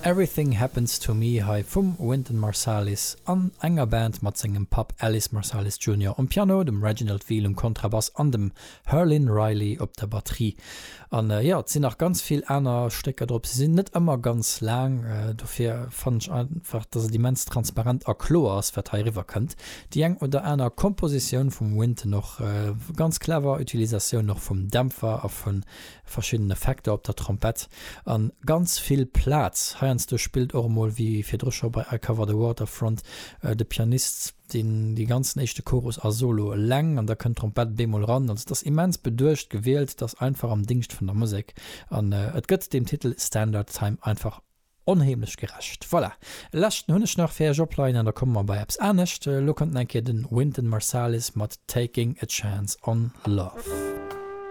Everything Happens To Me hei vum Wynton Marsalis an enger Band mat sengem Papp Ellis Marsalis Junior um Piano, dem Reginald Veal um Kontrabass an dem Herlin Riley op der Batterie. An jo, et sinn nach ganz vill aner Stécker drop. Se sinn net ëmmer ganz laang, dofir fannen ech einfach, dass et immens transparent a kloer ass, wat hei eriwwer kënnt. Déi eng oder aner Kompositioun vum Wynton och, ganz clever Utilisatioun och vum Dämpfer a vu verschidden Effekter op der Trompett an ganz vill Plaz. Heiansdo spillt och emol, wéi virdru scho bei I Cover the Waterfront, de Pianist deen dee ganzen éischte Chorus a Solo eleng an da kënnt d'Trompett bemol ran. Also et ass immens beduecht gewielt, et ass einfach am Dingscht vun der Musek an et gëtt deem Titel Standard Time einfach Onheemlech gerecht. Voilà, e leschten hunn ech nach fir iech opleien an da komme mer bei eppes anescht. Elo kënnt nach eng Kéier den Wynton Marsalis mat Taking a Chance on Love.